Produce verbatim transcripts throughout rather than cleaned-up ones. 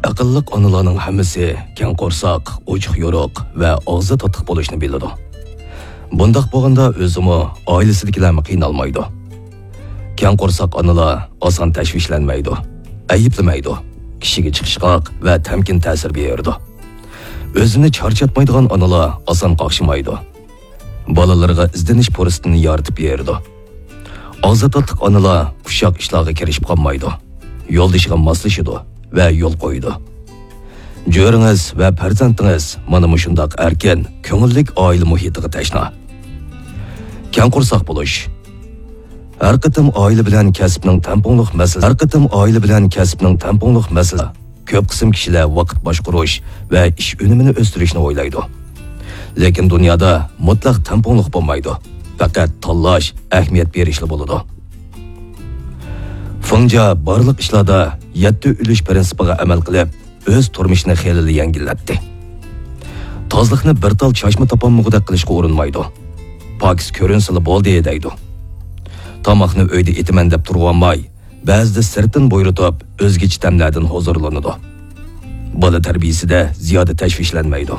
ئەقىللىق ئانىلارنىڭ ھەممىسى كەڭ قورساق، ئوچۇق يورۇق ۋە ئاغزى تاتلىق بولۇشنى بىلىدۇ. بۇنداق بولغاندا ئۆزىمۇ، ئائىلىسىدىكىلەرمۇ قىينالمايدۇ. كەڭ قورساق ئانىلار ئاسان تەشۋىشلەنمەيدۇ، ئەيىبلىمەيدۇ، كىشىگە چىقىشقاق ۋە تەمكىن تەسىر بېرىدۇ. ئۆزىنى چارچاتمايدىغان ئانىلار ئاسان قاقشىمايدۇ. بالىلىرىغا ئىزدىنىش پۇرسىتىنى يارىتىپ بېرىدۇ. ئاغزى تاتلىق ئانىلار ئۇششاق ئىشلارغا كىرىشىپ قالمايدۇ، يولدىشىغا ماسلىشىدۇ ۋە يول قويىدۇ. جۆرىڭىز ۋە پەرزەنتىڭىز مانا مۇشۇنداق ئەركىن، كۆڭۈللۈك ئائىلە مۇھىتىغا تەشنا. كەڭ قورساق بولۇش. ھەر قېتىم ئائىلە بىلەن كەسىپنىڭ تەڭپۇڭلۇق مەسىلىسى، ھەر قېتىم ئائىلە بىلەن كەسىپنىڭ تەڭپۇڭلۇق مەسىلىسى، كۆپ قىسىم كىشىلەر ۋاقىت باشقۇرۇش ۋە ئىش ئۈنۈمىنى ئۆستۈرۈشنى ئويلايدۇ. لېكىن دۇنيادا مۇتلەق تەڭپۇڭلۇق بولمايدۇ. پەقەت تاللاش، ئەھمىيەت بېرىشلا بولىدۇ. فېڭجيا بارلىق ئىشلاردا يەتتە ئۈلۈش پىرىنسىپىغا ئەمەل قىلىپ، ئۆز تۇرمۇشىنى خېلىلا يەڭگىللەتتى. تازىلىقنى بىر تال چاچما تاپالمىغۇدەك قىلىشقا ئۇرۇنمايدۇ. پاكىز كۆرۈنسىلا بولدى دەيدۇ. تاماقنى ئۆيدە ئېتىمەن دەپ تۇرۇۋالماي، بەزىدە سىرتتىن بۇيرۇتۇپ، ئۆزگىچە تەملەردىن ھۇزۇرلىنىدۇ. بالا تەربىيىسىدە زىيادە تەشۋىشلەنمەيدۇ.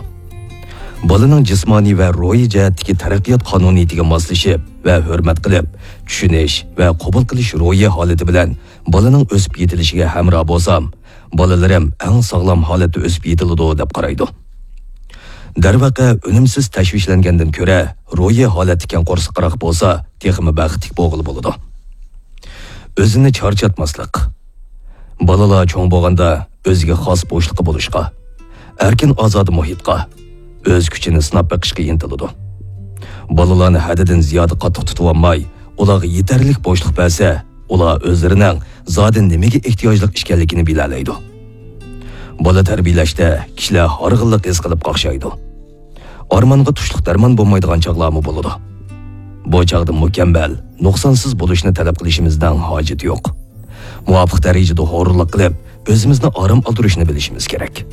بالىنىڭ جىسمانىي ۋە روھىي جەھەتتىكى تەرەققىيات قانۇنىيىتىگە ماسلىشىپ ۋە ھۆرمەت قىلىپ، چۈشىنىش ۋە قوبۇل قىلىش روھىي ھالىتى بىلەن بالىنىڭ ئۆسۈپ يېتىلىشىگە ھەمراھ بولسام، بالىلىرىم ئەڭ ساغلام ھالەتتە ئۆسۈپ يېتىلىدۇ دەپ قارايدۇ. دەرۋەقە، ئۈنۈمسىز تەشۋىشلەنگەندىن كۆرە، روھىي ھالەتتە كەڭ قورساقراق بولسا، تېخىمۇ بەختلىك بولغىلى بولىدۇ. ئۆزىنى چارچاتماسلىق. بالىلار چوڭ بولغاندا ئۆزىگە خاس بوشلۇقى بولۇشقا، ئەركىن ئازادە مۇھىتقا، ئۆز كۈچىنى سىناپ بېقىشقا ئىنتىلىدۇ. بالىلارنى ھەددىدىن زىيادە قاتتىق تۇتۇۋالماي، ئۇلارغا يېتەرلىك بوشلۇق بەرسە، ئۇلار ئۆزلىرىنىڭ زادى نېمىگە ئېھتىياجلىق ئىكەنلىكىنى بىلەلەيدۇ. بالا تەربىيەلەشتە كىشىلەر ھارغىنلىق ھېس قىلىپ قاقشايدۇ. ئارمانغا تۇشلۇق دەرمان بولمايدىغان چاغلارمۇ بولىدۇ. بۇ چاغدا مۇكەممەل، نۇقسانسىز بولۇشنى تەلەپ قىلىشىمىزنىڭ ھاجىتى يوق. مۇۋاپىق دەرىجىدە ھۇرۇنلۇق قىلىپ، ئۆزىمىزنى ئارام ئالدۇرۇشنى بىلىشىمىز كېرەك.